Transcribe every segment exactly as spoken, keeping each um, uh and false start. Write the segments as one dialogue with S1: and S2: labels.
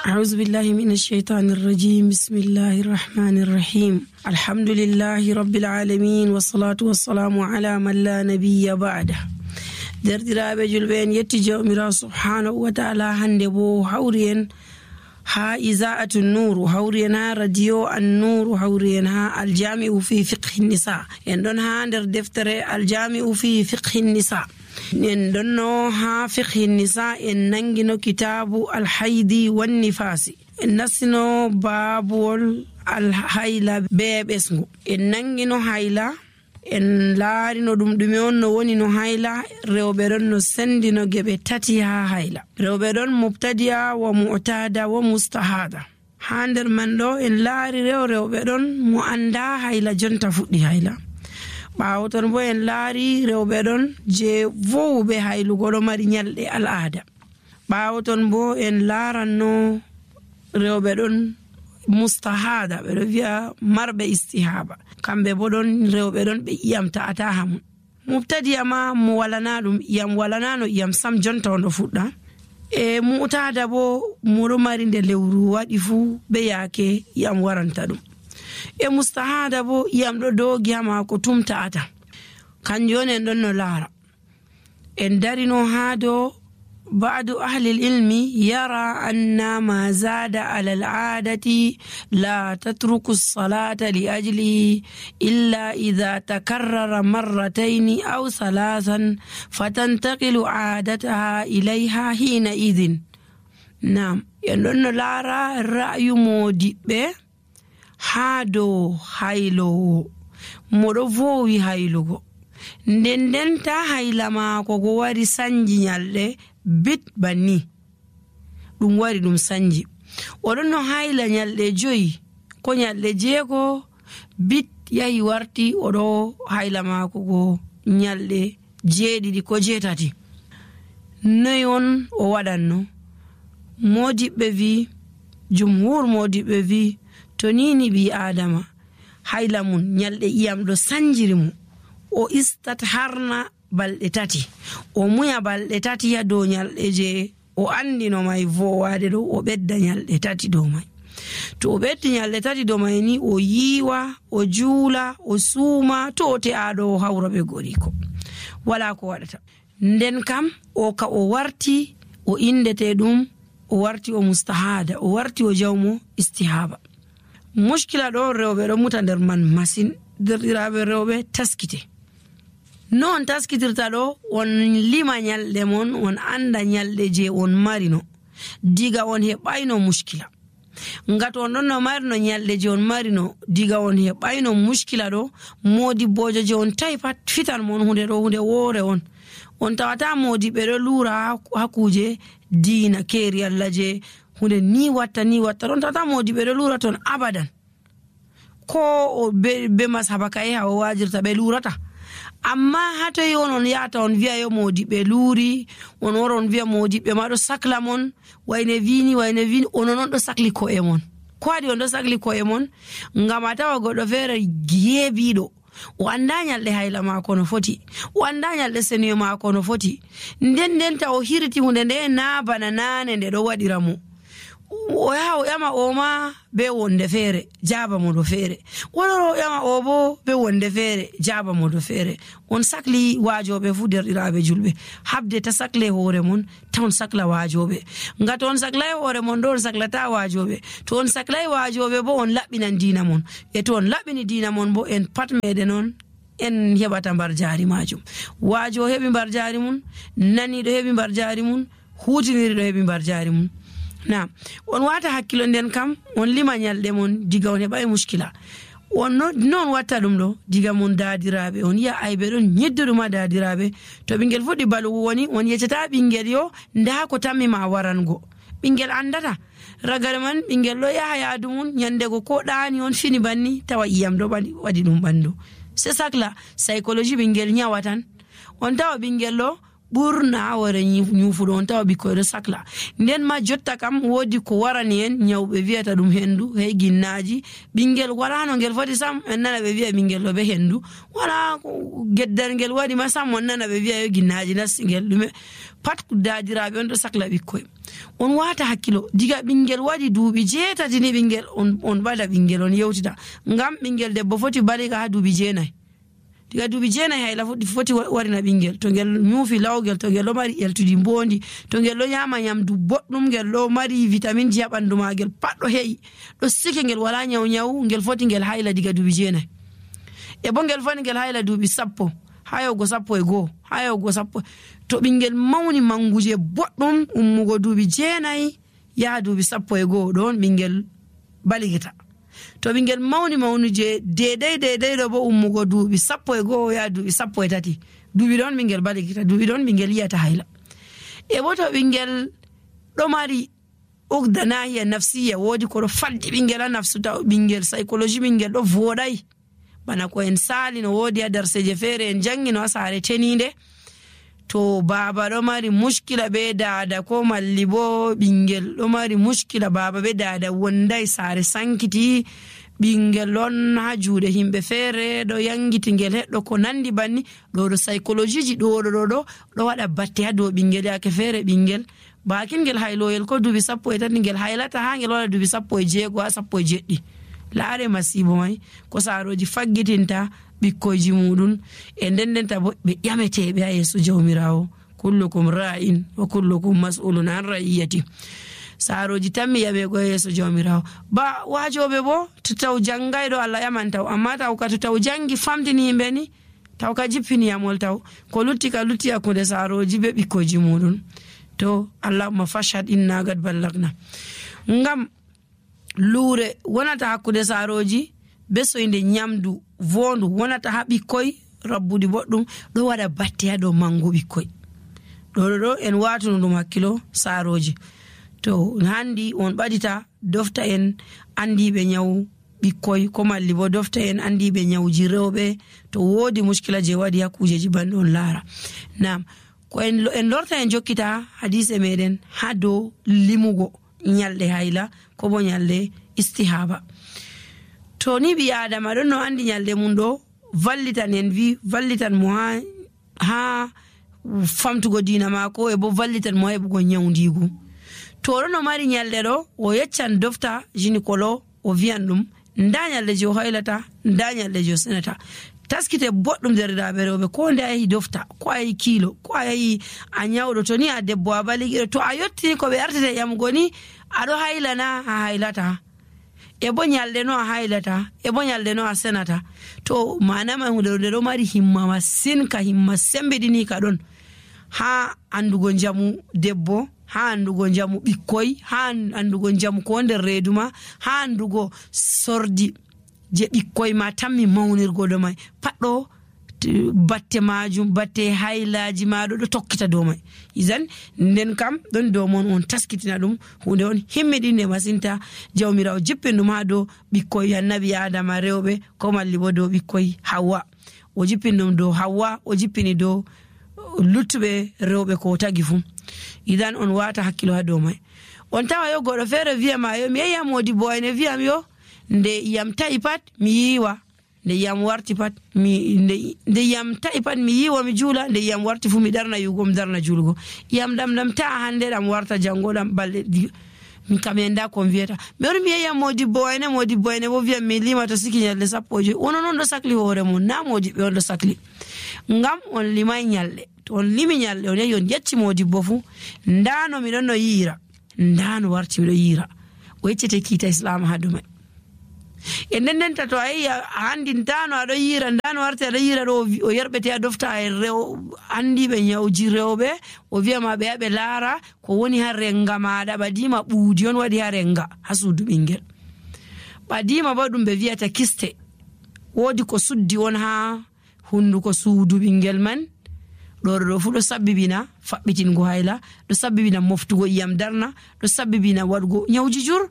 S1: أعوذ بالله من الشيطان الرجيم. بسم الله الرحمن الرحيم. الحمد لله رب العالمين والصلاة والسلام على من لا نبي بعده. دردرابه julben yetti jawmira subhanahu wa ta'ala hande bo hawriyen ha izaatu nur hawriyen ha radio an-nur hawriyen ha al-jami'u fi fiqh an-nisa en don ha der deftere al-jami'u fi fiqh an-nisa en donno ha fiqh an-nisa en nangino kitabu al-haidi wan-nifasi en nasino babul al-hayla bebesngo en nangino hayla en laarino dum dume on no woni no hayla rewbe don no sendino gebe tati ha hayla rewbe don mubtadi'a wa mu'tada wa mustahada hander man do en laari rew rewbe don mu anda hayla jonta fuddi hayla baawo ton bo en laari rewbe don je vowbe haylugo do mari nyalde al'ada baawo ton bo en laaranno rewbe don mustahada be via marbe istihaba kambe bodon rewbe don be iyam taata hamu mubtadi ama mu walana dum iyam walana no iyam sam jonta on do fudda e mu'tada bo muro mari de lewru wadi fu be yake iyam waranta dum e mustahada bo iyam do dogi ama ko tumtaata kanjone don no lara en darino hado بعض أهل العلم يرى أن ما زاد على العادة لا تترك الصلاة لأجله إلا إذا تكرر مرتين أو ثلاثا فتنتقل عادتها إليها حينئذ. نعم ينون لارا رأي مودي به هادو هايلو مودوفوي هايلو nden ta hayla ma ko go wari sanji nyalde bit banni dum wari dum sanji odon no hayla nyalde joyi ko nyalde jeego bit yahi warti odo hayla ma ko go nyalde jeedidi ko jeetati noyon o wadanno modibbe vi jumhur modibbe vi to nini bi adama hayla mun nyalde iyam do sanjiri mu o istat harna balde tati o muya balde tati ya do nyalde je o andino mai vowaade do o bedda nyalde tati do mai to o beddi nyalde tati do mai ni o yiwa o juula o suuma to te ado hawrobe goriko wala ko wadata nden kam o ka o warti o indete dum o warti o mustahada o warti o jawmo istihaba mushkila do rewbe do muta der man masin derirabe rewbe taskite non taskitirta do on lima nyalde mon on anda nyalde je on marino diga on hebayno mushkila ngato on non no marino nyalde je on marino diga on hebayno mushkila do modi bojo je on taypat fitan mon hunde do hunde wore on on tawata modi be do lura hakuje dina keri Allah je hunde ni watta ni watta on tawata modi be do lura ton abadan ko be, be mashabaka e ha wajirta be lurata amma hato yon on yata on via yo modi be luri on woron via modi be ma do sakla mon wayne vini wayne vini on non do sakli ko e mon ko adi on do sakli ko e mon ngama tawa godo fere gebido o anda nyalde hayla ma ko no foti o anda nyalde seniyo ma ko no foti nden nden ta o hiriti hunde nde na bana nane nde do wadiramu o ya o yama o ma be wonde fere jaba mo do fere woro yama o bo be wonde fere jaba mo do fere on sakli wajobe fu derdiraabe julbe habde ta sakle hore mon ton sakla wajobe ngato on sakla hore mon don saklata wajobe to on sakla wajobe bo on labbinan dina mon e to on labbini dina mon bo en pat mede non en hebata bar jaari majum wajo hebi bar jaari mun nani do hebi bar jaari mun hutiniri do hebi bar jaari mun na on wata hakkilo nden kam on lima nyalde mon diga on hebay mushkila on non wata dum do diga mon daadirabe on ya aybe don nyedduma daadirabe to bingel fodi balu woni on yecata bingel yo nda ko tammi ma warango bingel andata ragare man bingel lo ya yaadum nyande go ko daani on fini banni tawa iyam do bandi wadi dum bando c'est ça que la psychologie bingel nyawatan on tawa bingel lo burna wara nyufu don taw bi ko resakla nden ma jotta kam wodi ko warani en nyawbe wiata dum hendu hay ginnaji bingel warano ngel foti sam en nana be wi'a bingel lo be hendu wala geddar ngel wadi ma sam on nana be wi'a yo ginnaji nas ngel dum pat daadiraɓe on ɗo sakla ɓikkoy. On wata hakkilo diga ɓingel waɗi duuɓi jeetati ni ɓingel on on ɓada ɓingel on yewtita ngam ɓingel debbo foti baliga ha duuɓi jeenayi. diga duuɓi jeenayi hayla foti warina ɓingel to ngel ñuufi lawgel, to ngel ɗo mari ƴeltudi mbondi, to ngel ɗo ñama ñamdu boɗɗum, ngel ɗo mari vitamine ji ha ɓandu magel pat ɗo heƴi ɗo sike ngel wala nyaw nyaw, ngel foti ngel hayla diga duuɓi jeenayi. e bo ngel foti ngel hayla duuɓi sappo ha yahugo sappo e go'o ha yahugo sappo. to ɓingel mawni manguje boɗɗum ummugo duuɓi jeenayi yaha duuɓi sappo e go'o ɗon ɓingel baligita. to ɓingel mawni mawnuje dedai dedai ɗo bo ummugo duuɓi sappo e go'o yaha duuɓi sappo e tati, duuɓi ɗon ɓingel baligita, duuɓi ɗon ɓingel yiyata hayla. e bo to ɓingel ɗo mari ugda nahiya nafsiya, woodi ko ɗo faddi ɓingel ha nafsu, taw ɓingel psychologie ɓingel ɗo voɗai bana ko en sali no woodi ha darseje feere en jangino ha saare teninde. to baba ɗo mari muskila be dada, ko malli bo ɓingel ɗo mari muskila baba be dada wondai saare sankiti, ɓingel ɗon ha juuɗe himɓe feere ɗo yangiti ngel heɗɗo ko nandi banni, ɗo ɗo psychologie ji ɗo ɗo ɗo ɗo waɗa batte ha dow ɓingel. yake feere ɓingel bakin ngel hayloyel ko duuɓi sappo e tati ngel haylata ha ngel waɗa duuɓi sappo e jeego ha sappo e jeɗɗi. laare masibo mai ko saaroji faggitinta ɓikkoyji muɗum, e nden ndenta bo ɓe ƴameteɓe ha yeeso jawmirawo. kullukum ra'in wa kullukum mas'ulun an ra'iyati. saaroji tammi ƴamego yeeso jawmirawo. ba wajoɓe bo to taw janngayɗo Allah ƴaman taw, amma taw ka to taw jangi famtini yimɓe ni taw ka jippini yamol, taw ko lutti ka lutti hakkunde saaroji be ɓikkoyji muɗum. to allahumma fashhad inna gad ballagna. ngam luure wonata hakkude saaroji be soyde ñamdu vondu wonata ha ɓikkoy rabbude boɗɗum ɗo waɗa batte ha dow mangu ɓikkoy. ɗo ɗo ɗo en watuno ɗum hakkilo saaroji. to handi on ɓadita dofta en andiɓe ñaw ɓikkoy, ko malli bo dofta en andiɓe ñawji rewɓe to woodi muskila je waɗi ha kujeji banɗe on laara. nam ko en, en lorta en jokkita hadise meɗen ha dow limugo ñalɗe hayla ko bo ñalɗe istihaba. to ni ɓi adama ɗon no andi ñalɗe mum ɗo vallitan en wi vallitan mo ha ha famtugo dina mako, e bo vallitan mo heɓugo ñawdigu. to ɗo no mari ñalɗe ɗo o yeccan dofta gynécolo o wiyan ɗum nda ñalɗe je o haylata, nda ñalɗe je o senata. taskite boɗɗum derɗiraɓe rewɓe, ko nde a yahi dofta, ko a yahi kiilo, ko a yahi a ñawɗo, to ni a debbo a baligiɗo, to a yettini ko ɓe artete ƴamgo ni aɗo haylana a haylata, e bo ñalɗe no a haylata, e bo ñalɗe no a senata. to manama hunde nde ɗo mari himma masin, ka himma sembiɗini ka ɗon ha andugo jamu debbo, ha andugo jamu ɓikkoy, ha andugo jamu ko nder reedu ma, ha andugo sordi je ɓikkoy ma tammi mawnirgo ɗo mai pat ɗo batte majum, batte haylaji maɗo ɗo tokkita dow mai. isan nden kam ɗon dow mon on taskitina ɗum hunde on himmiɗinde masinta. jawmirawo jippin ɗum ha dow ɓikkoy annabi adama rewɓe, ko malli bo dow ɓikkoy Hawwa. o jippin ɗum dow Hawwa, o jippini dow luttuɓe rewɓe ko tagi fu. idan on wata hakkilo ha dow mai. on tawa yo goɗɗo feere wiyama yo mi yehi Modibbo ene wiyam yo nde yam ta'i pat mi yiwa, nde yam warti pat mi nde, nde yam ta'i pat mi yiwa mi juula, nde yam warti fu mi darna yugo mi darna julgo. yam ɗam ɗam ta'a hande ɗam warta jango ɗam balɗe min kam enda ko wiyata mi wari mi yehi Modibbo ene Modibbo ene bo wiyam mi lima to siki ñalɗe sappo e joyi. wono noon ɗo sakli hoore mum, na Modibɓe on ɗo sakli. ngam on limay ñalɗe. to on limi ñalɗe on yehi on yecci Modibbo fu ndano miɗon no yiira, ndano warti miɗo yiira, o yeccete kiita islam ha ɗumai. e nden ndenta to a yehi a handi ndano aɗo yiira, ndano warti aɗo yiira ɗo o yerɓete a dofta e rew andiɓe ñawji rewɓe, o wiyama ɓe yaɓe laara ko woni ha renga maɗa. ɓadima ɓuudi on waɗi ha renga ha suudu ɓingel. ɓadima bo ɗum ɓe wiyata kiste, woodi ko suddi on ha hunduko suudu ɓingel man. ɗo ɗo fu ɗo sabbibina faɓɓitingo hayla, ɗo sabbibina moftugo iyam darna, ɗo sabbibina waɗugo ñawji jur.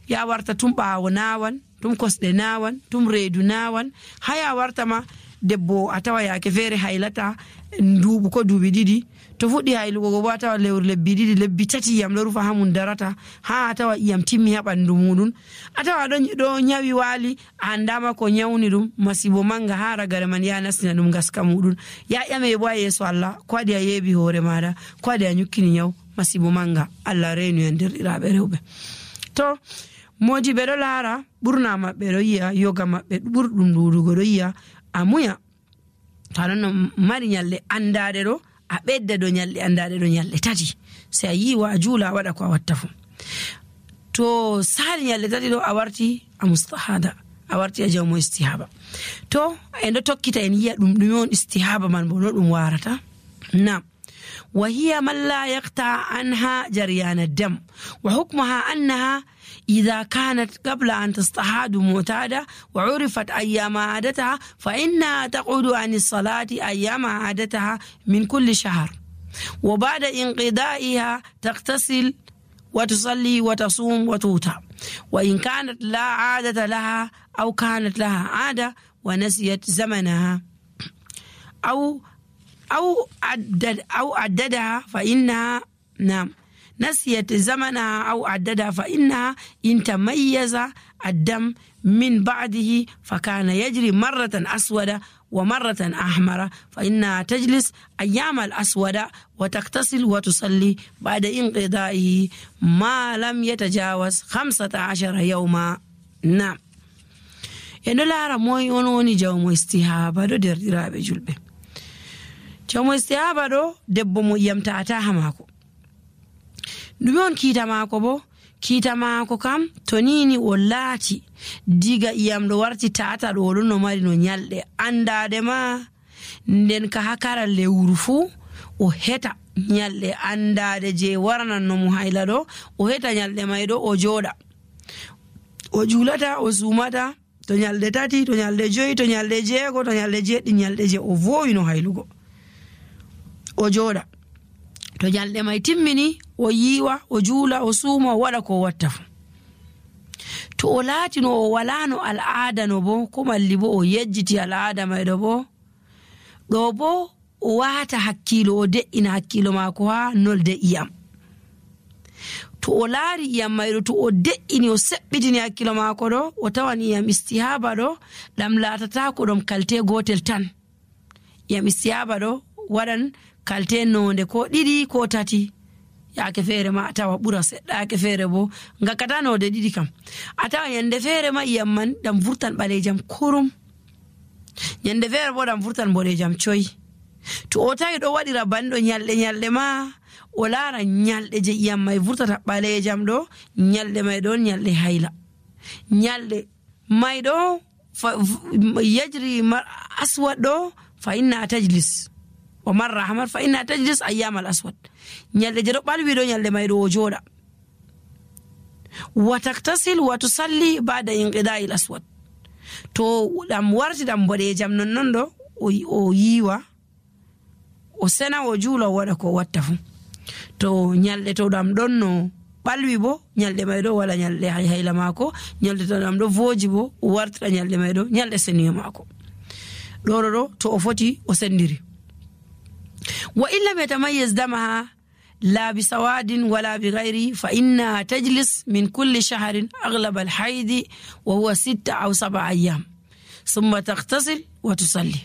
S1: ya warta tum ɓaawo nawan, tum kosɗe nawan, tum reedu nawan, haya warta ma debbo a tawa yake feere haylata nduuɓu ko duuɓi ɗiɗi, to fuɗɗi haylugo go bo a tawa lewru lebbi ɗiɗi lebbi tati iyam ɗo rufa ha mum darata ha a tawa iyam timmi ha ɓandu muɗum a tawa ɗo nyawi waali a andama ko nyawni ɗum masibo manga ha ragare man ya nastina ɗum gaska muɗum ya ƴame bo a yeeso Allah ko waɗi a yeebi hoore maɗa ko waɗi a nyukkini nyaw masibo manga Allah reenu en derɗiraɓe rewɓe. To moji ɓe ɗo laara ɓurna maɓɓe ɗo yi'a yoga maɓɓe ɓurɗum ɗuɗugo ɗo yi'a a muya to aɗon no mari nyalɗe andade ɗo a ɓedda do nyalɗe andade ɗo nyalɗe tati sai a yiwa a juula a waɗa ko a watta fu. To sali nyalɗe tati ɗo a warti a mustahada a warti a jawmo istihaba. To en ɗo tokkita en yi'a ɗum ɗume on istihaba man bo no ɗum warata. Nam وهي من لا يقطع عنها جريان الدم وحكمها أنها إذا كانت قبل أن تستحاض معتادة وعرفت أيام عادتها فإنها تقعد عن الصلاة أيام عادتها من كل شهر وبعد انقضائها تغتسل وتصلي وتصوم وتوتر وإن كانت لا عادة لها أو كانت لها عادة ونسيت زمنها أو أو عدد أو عددها فإنها نعم نسيت زمنها أو عددها فإنها إن تميز الدم من بعده فكان يجري مرة أسود ومرة أحمر فإنها تجلس أيام الأسود وتغتسل وتصلي بعد انقضائه ما لم يتجاوز خمسة عشر يوما. نعم إنه لا رموي ونوني جوم استهابة دو دير ديرابي جلبي jawmo istihaba ɗo debbo mo iyam ta'ata ha mako ɗume on kiita mako bo kiita mako kam to nini o laati diga iyam ɗo warti ta'ata ɗo ɗon no mari no nyalɗe andade ma nden ka hakara lewru fu o heta nyalɗe andade je waranan no mo hayla ɗo o heta nyalɗe may ɗo o joɗa o julata o sumata to nyalɗe tati to nyalɗe joyi to nyalɗe jeego to nyalɗe jeɗɗi nyalɗe je o vowi no haylugo o joɗa to nyalɗe may timmini o yiwa o juula o suuma o waɗa ko watta fu. To o laati no o walano al'ada no bo ko malli bo o yejjiti al'ada may ɗo bo ɗo bo o wata hakkilo o de'ina hakkilo mako ha nolde iyam. To o laari iyam may ɗo to o de'ini o seɓɓitini hakkilo mako ɗo o tawan iyam istihaba ɗo ɗam latata ko ɗum kalte gotel tan. Iyam istihaba ɗo waɗan kalte nonde ko ɗiɗi ko tati yaake feere ma a tawa ɓura seɗɗa yaake feere bo ngakkata nonde ɗiɗi kam a tawa yande feere ma iyam man ɗam vurtan ɓalejam kurum yande feere bo ɗam vurtan boɗejam coyi. To o tawi ɗo waɗira banɗo nyalɗe nyalɗe ma o laara nyalɗe je iyam may vurtata ɓalejam ɗo nyalɗe may ɗon nyalɗe hayla nyalɗe may ɗo yajri aswad ɗo fa inna tajlis o marra hamar fa inna tajlis ayyam al aswad nyalde je do balwi do nyalde may do o joda wa taktasil wa tusalli ba'da inqida'i al aswad to dam warti dam bodejam non non do o yiwa o sena o juula wada ko watta fu. To nyalde to dam don no balwi bo nyalde may do wala nyalde hayla mako nyalde to dam do voji bo o warti nyalde may do nyalde seniyo mako do do to o foti o sendiri. وإن لم يتميز دمها لا بسواد ولا بغيره فإنها تجلس من كل شهر أغلب الحيض وهو ستة أو سبع أيام ثم تغتسل وتصلي.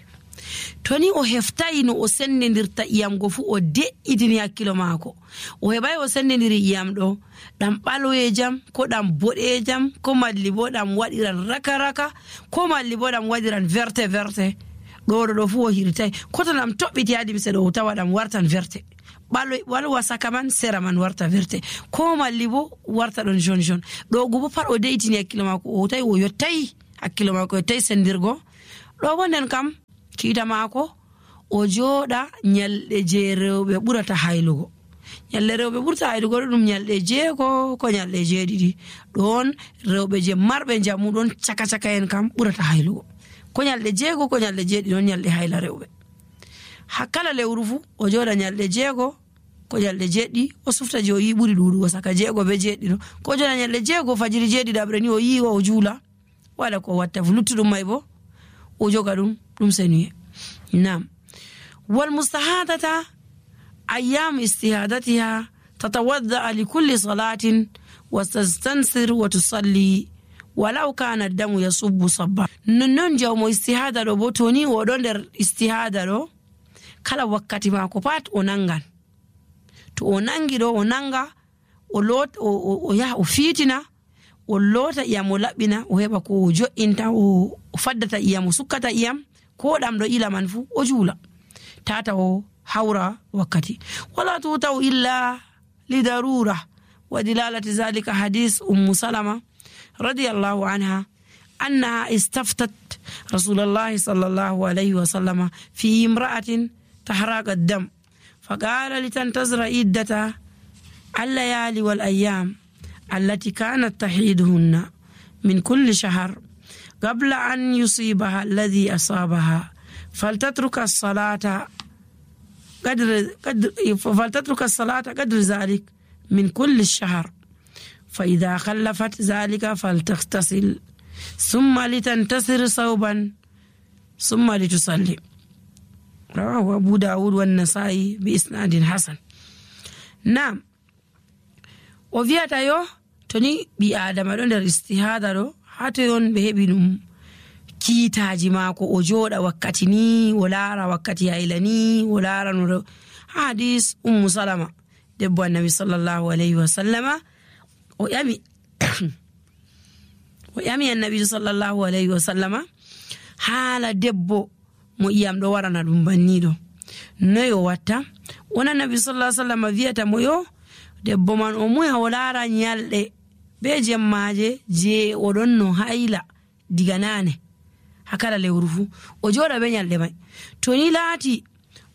S1: توني o heftai no o sendendirta iyam go fu o de'itini hakkilo maako o hebay o sendendiri iyam ɗo ɗam ɓaloyejam ko ɗam boɗejam ko malli bo ɗam waɗiran raka raka ko malli bo ɗam waɗiran verte verte ɗo ɗo fu o hirtay koto nam toɓɓiti adi mise ɗo tawa ɗam wartan verte ɓalo walwa saka man sera man warta verte ko malli bo warta ɗon jaune jaune ɗo go bo pat o de'itini hakkilo maako o tawi o yottayi hakkilo maako yottayi sendirgo ɗo bo nden kam kiita maako o jooɗa nyalɗe je rewɓe ɓurata haylugo nyalɗe rewɓe ɓurata haylugo ɗo ɗum nyalɗe jeego ko nyalɗe jeeɗiɗi ɗon rewɓe je marɓe njamu ɗon caka caka en kam ɓurata haylugo ko nyalɗe jeego ko nyalɗe jeeɗiɗi ɗon nyalɗe hayla rewɓe. Hakkala lewru fu o jooɗa nyalɗe jeego ko nyalɗe jeeɗiɗi o sufta je o yi ɓuri ɗuɗugo saka jeego be jeeɗiɗo ko jooɗa nyalɗe jeego fajiri jeeɗiɗaɓre ni o yiwa o juula waɗa ko watta fu luttuɗum may bo o joga ɗum ɗum senuye. Nam wal mustahadata أيام استهادتها تتوضأ لكل صلاة وتستنصر وتصلي ولو كان الدم يصب صبا. نون جوم استهادة رو بوتوني ودون استهادة رو kala wakkati mako pat o nangan to o nangi do o nanga o lot o ya o fitina o lota iyam o labbina o heba ko jo'inta o faddata iyam o sukkata iyam ko dam do ila man fu o jula tata o hawra wakkati wala tuta illa lidarura wa dilalati zalika hadith ummu salama radiyallahu anha annaha istaftat rasulullah sallallahu alayhi wa sallama fi imra'atin تحرق الدم فقال لتنتظر عدة الليالي والأيام التي كانت تحيدهن من كل شهر قبل أن يصيبها الذي أصابها فلتترك الصلاة قدر, قدر فلتترك الصلاة قدر ذلك من كل الشهر فإذا خلفت ذلك فلتغتسل ثم لتنتصر صوبا ثم لتصلي. رواه أبو داود والنسائي بإسناد حسن. نعم وفياتا يو توني بي آدم دون در استهادة رو حتى يون بهبي نم كيتاجي ماكو أجود وكاتي ني ولارا وكاتي عيلاني ولارا نورو حديث أم سلمة دبو النبي صلى الله عليه وسلم ويامي ويامي النبي صلى الله عليه وسلم حال دبو mo iyam do warana dum bannido noyo watta wona nabi sallallahu alaihi wasallam viata moyo debbo man o muya o lara nyalde be jemmaje je o don no hayla diga nane hakala lewrufu o joda be nyalde mai to ni lati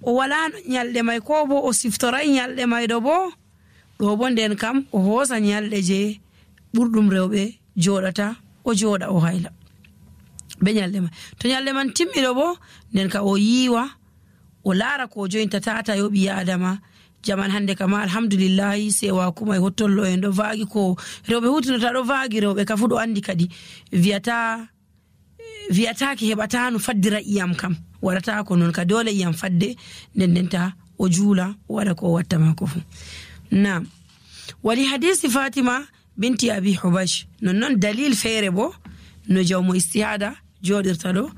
S1: o wala nyalde mai ko bo o siftoray nyalde mai do bo do bo den kam o hosa nyalde je burdum rewbe jodata o joda o hayla be nyalde man to nyalde man timmido bo nden ka o yiwa o lara ko jointa tata yo bi adama jaman hande kama alhamdulillah sewa kuma hottollo en do vaagi ko rewbe hutinata do vaagi rewbe ka fu do andi kadi viata viata ki hebata no faddira iyam kam warata ko non ka dole iyam fadde nden denta o jula wala ko watta mako fu. Naam wali hadisi Fatima binti Abi Hubash non non dalil fere bo no jawmo istihada جودر تلو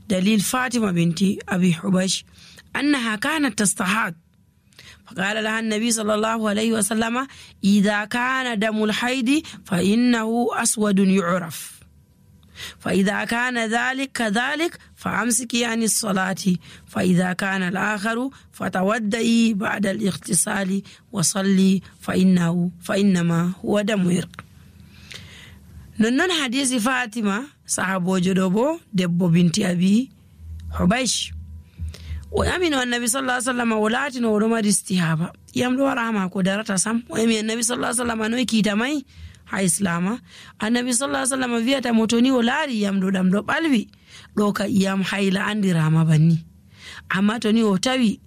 S1: دليل فاطمة بنت أبي حبيش أنها كانت تستحاض فقال لها النبي صلى الله عليه وسلم إذا كان دم الحيض فإنه أسود يعرف فإذا كان ذلك كذلك فأمسكي عن الصلاة فإذا كان الآخر فتودئي بعد الاغتسال وصلي فإنه فإنما هو دم عرق. ننن حديث فاطمة صحابو جدوبو دبو بنتي أبي حبيش ويامن النبي صلى الله عليه وسلم ولاتنا ورمى استهابة يامدو ورحمة قدرة سام ويامن النبي صلى الله عليه وسلم نوي كيتامي ها إسلاما النبي صلى الله عليه وسلم فيها موتوني ولاري يامدو دامدو بالبي لوكا يام حيلا عندي رحمة بني أما توني وتاوي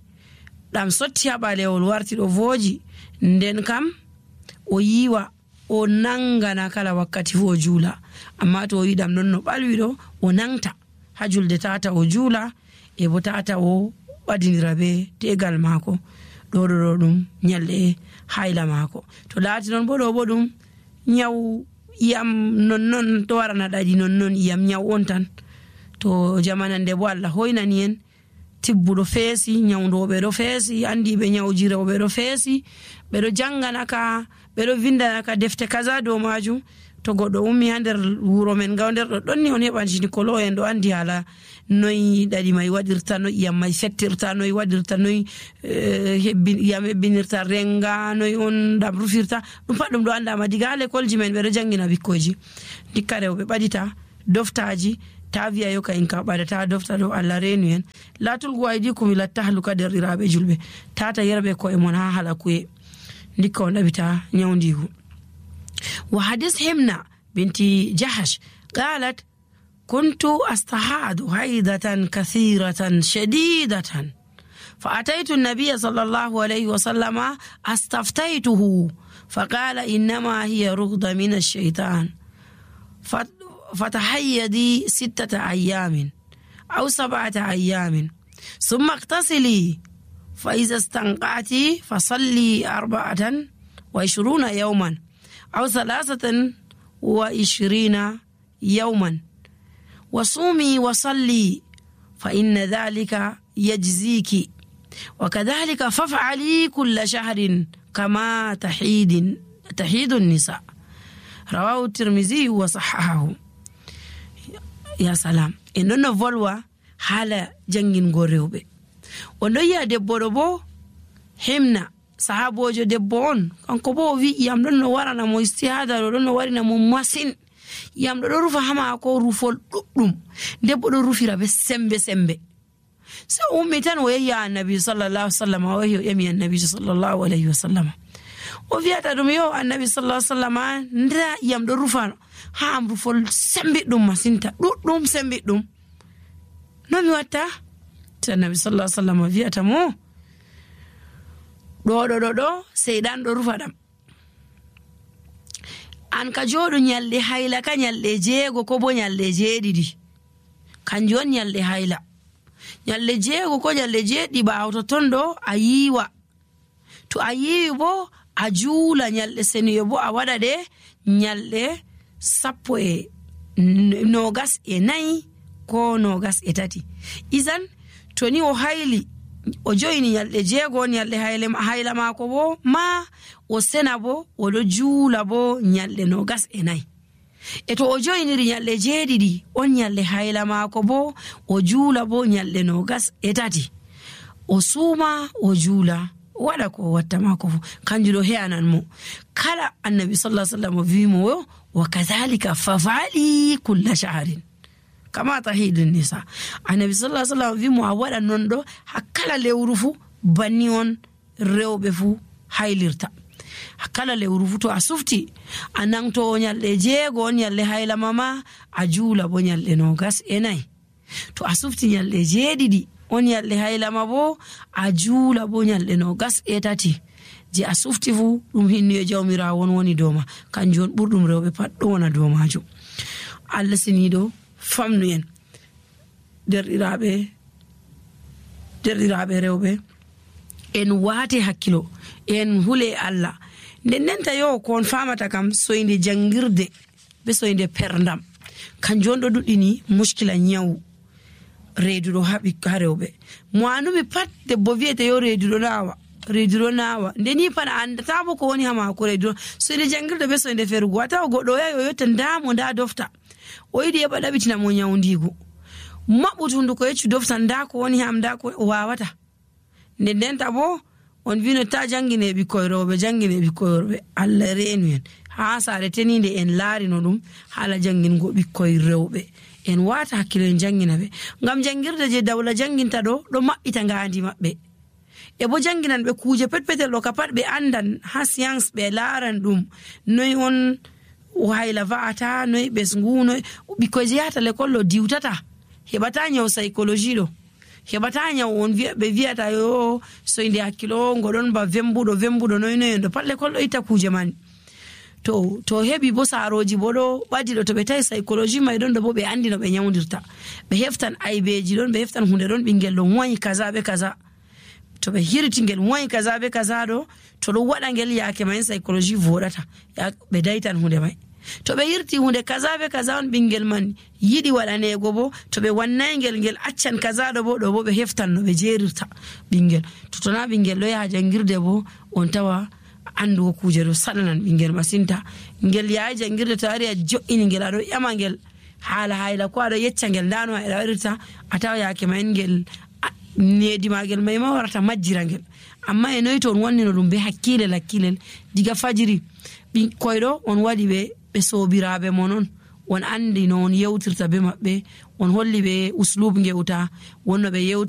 S1: دام سوتيا بالي والوارتي الوفوجي ندن كام ويوا o nangana kala wakkati fu o jula amma to yidam non no balwido o nangta hajulde tata o jula e bo tata o badindira be tegal mako do do dum nyalle hayla mako to laati non bo do bo dum nyaw yam non non to warana dadi non non yam nyaw on tan to jamanande bo Allah hoynani en tibbudo feesi nyawdobe do feesi andi be nyawjirobe do feesi be do jangana ka be do vindana ka defte kaza do majum to goddo ummi hander wuro men gawnder do donni on heban jini kolo en do andi hala noy dadi mai wadirta no yam mai settirta noy wadirta noy hebbin yam hebbinirta renga noy on dam rufirta dum paddum do anda ma diga le kolji men be do jangina bikkoji dikkare be badita doftaji taviya yo kain ka badata dofta do Allah renu en latul guaydikum ila tahluka derirabe julbe tata yerbe ko e mon ha hala kuye dikko ndabita nyawdihu. وحديث همنا بنت جحش قالت كنت أستحاض حيضة كثيرة شديدة فأتيت النبي صلى الله عليه وسلم استفتيته فقال إنما هي رغضة من الشيطان فتحيدي ستة أيام أو سبعة أيام ثم اغتسلي fa iza stanqati fa salli arba'atan wa ishruna yawman aw thalathatan wa ishrina yawman wa sumi wa salli fa inna dhalika yajziki wa kadhalika faf'ali kull shahrin kama tahidin tahidun nisa rawahu tirmidhi wa sahahahu. Ya salam en non volwa hala jangin go rewbe o do yi'a debbo do bo himna sahabojo debbo on kanko bo wi yam don no warana mo istihada do don no warina mo masin yam do do rufa hama ko rufol duddum debbo do rufira be sembe sembe so ummi tan o yi'a annabi sallallahu alaihi wasallam o yi'a yami annabi sallallahu alaihi wasallam o wi'ata dum yo annabi sallallahu alaihi wasallam ndra yam do rufa ha am rufol sembe dum masinta duddum sembe dum no mi watta ta annabi sallallahu alaihi wasallam wi'ata mo do do do do seydan do rufa dam an ka jodo nyalde hayla ka nyalde jeego ko bo nyalde jeedidi kanjon nyalde hayla nyalde jeego ko nyalde jeedi baawto tondo ayiwa to ayiwi bo a juula nyalde seniyo bo a wada de nyalde sappo e nogas e nayi ko nogas e tati izan to ni o hayli o joyini nyalde jeego nyalde hayle hayla mako bo ma o sena bo o do juula bo nyalde nogas e nayi e to o joyiniri nyalde jeedidi on nyalde hayla mako bo o juula bo nyalde nogas e tati o suma o juula wada ko watta mako kanjudo heanan mo kala annabi sallallahu alaihi wasallam vimo wa kadhalika fafali kull shahrin kama tahidun nisa annabi sallallahu alaihi wasallam vimo a wada nondo hakala lewrufu banni on rewbe fu haylirta hakala lewrufu to asufti anan to nyalde jeego nyalde hayla mama a juula bo nyalde no gas enai to asufti nyalde jeedidi on yalde haylama bo a juula bo nyalde no gas etati je a sufti fu dum hinniyo jawmira won woni doma kanjon burdum rewbe pat do wona do majo Allah sinido famnu en derdiraabe derdiraabe rewbe en wate hakkilo en hule Allah dennenta yo kon famata kam soinde jangirde be soinde perndam kanjon do dudini muskila nyawu reedudo habi karewbe mo anumi pat debbo wiete yo reedudo nawa reedudo nawa ndeni pan andata bo ko woni hama ko reedudo so inde jangirde be so inde ferugo wata goddo yayo yotta ndamo nda dofta o yidi e badabitina mo nyawndigo mabutundu ko yeccu dofta nda ko woni ham nda ko wawata nden denta bo on vino ta jangine bi koyrobe jangine bi koyrobe Allah reenu en ha sare teninde en laari no dum hala jangingo bi koyrewbe en wata hakkilo en jangina be ngam jangirde je dawla janginta do do mabbita ngaandi mabbe e bo janginan be kuje petpetel do kapat be andan ha science be laaran dum noy on wayla vaata noy bes nguno biko jiata le kollo diwtata hebata nyaw psychology do hebata nyaw on be viata yo so inde hakkilo ngodon ba vembudo vembudo noy noy do palle kollo ita kuje man to to hebi bo saroji bodo badi do to be tay psychology mai don do bo be andi no be nyawdirta be heftan aibeji don be heftan hunde don bingel don wani kaza be kaza to be hirti ngel wani kaza be kaza do to do wada ngel yake mai psychology vodata ya be daitan hunde mai to be hirti hunde kaza be kaza on bingel man yidi wadane go bo to be wannay ngel ngel accan kaza do bo do bo be heftan no be jerirta bingel to to na bingel do ya jangirde bo on tawa andu kuje do salanan bingel masinta ngel yaay jangirde tari a jo'ini ngel ado yama ngel hala hayla ko ado yecca ngel dano e dawirta ataw yaake man ngel needi magel may ma warata majjira ngel amma e noy ton wonni no dum be hakkile lakkilel diga fajiri bi koydo on wadi be be sobiraabe monon won andi non yewtirta be mabbe on holli be uslub ngewta wonno be yewti